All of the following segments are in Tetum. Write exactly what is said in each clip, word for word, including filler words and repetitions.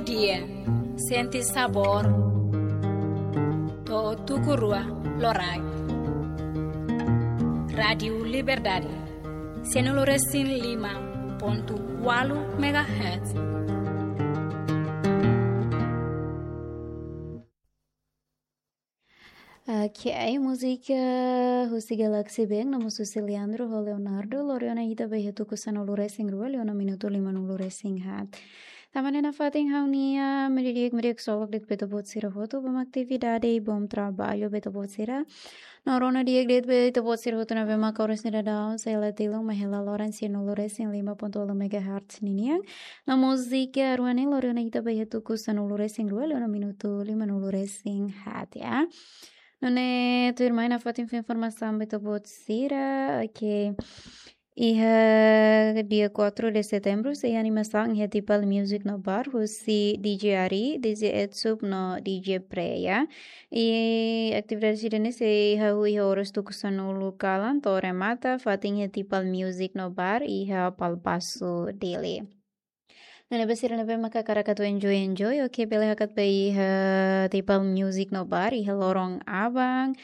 Dia, sente sabór to'o tuku rua loraik. Rádiu Liberdade, sianulu resin lima pontu ualu megahertz. Oke, ai múzika husi Galaxy Band, no mós husi Leandro ho Leonardo, lori ona ita ba iha tuku sanulu resin rua, liu ona minutu limanulu resin haat. Tanba ne'e nafatin ha'u-nia meiudia di'ak, meiudia ksolok de'it ba ita-boot sira hotu, ba atividade, bom trabalho ba ita-boot sira. No rona di'ak de'it ba ita-boot sira hotu ne'ebé maka oras ne'e daudaun sei la tilun, mai hela loron sianulu resin lima pontu ualu megahertz ninian. No múzika rua ne'e lori ona ita ba iha tuku sanulu resin rua, liu ona minutu limanulu resin haat, ya. Nune'e tuirmai nafatin fó informasaun ba ita-boot sira, oke. Iha dia quatro de setembro, sei animasaun iha Tipal Music no Bar, husi D J Ari, D J Etsup no D J Preya. I atividade sira-ne'e sei hahú iha oras tuku sanulu kalan to'o remata, fatin iha Tipal Music no Bar, iha Palpasu, Dili. Nune'e ba sira ne'ebé maka hakarak atu enjoy, enjoy, oke, bele hakat ba iha Tipal Music no Bar, iha loron aban,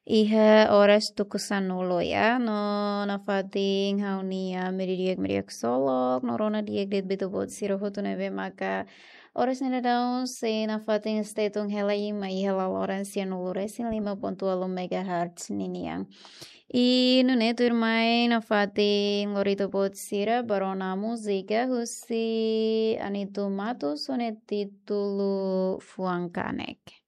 iha oras tuku sanulu, ya, no nafatin ha'u-nia meiudia di'ak, meiudia ksolok, no rona di'ak de'it ba ita-boot sira hotu ne'ebé maka oras ne'e daudaun sei nafatin stay tune hela i mai hela loron sianulu resin lima pontu ualu megahertz ninian. I nune'e tuirmai nafatin lori ita-boot sira ba rona múzika husi Anito Matos, ho nia títulu Fuan Kanek.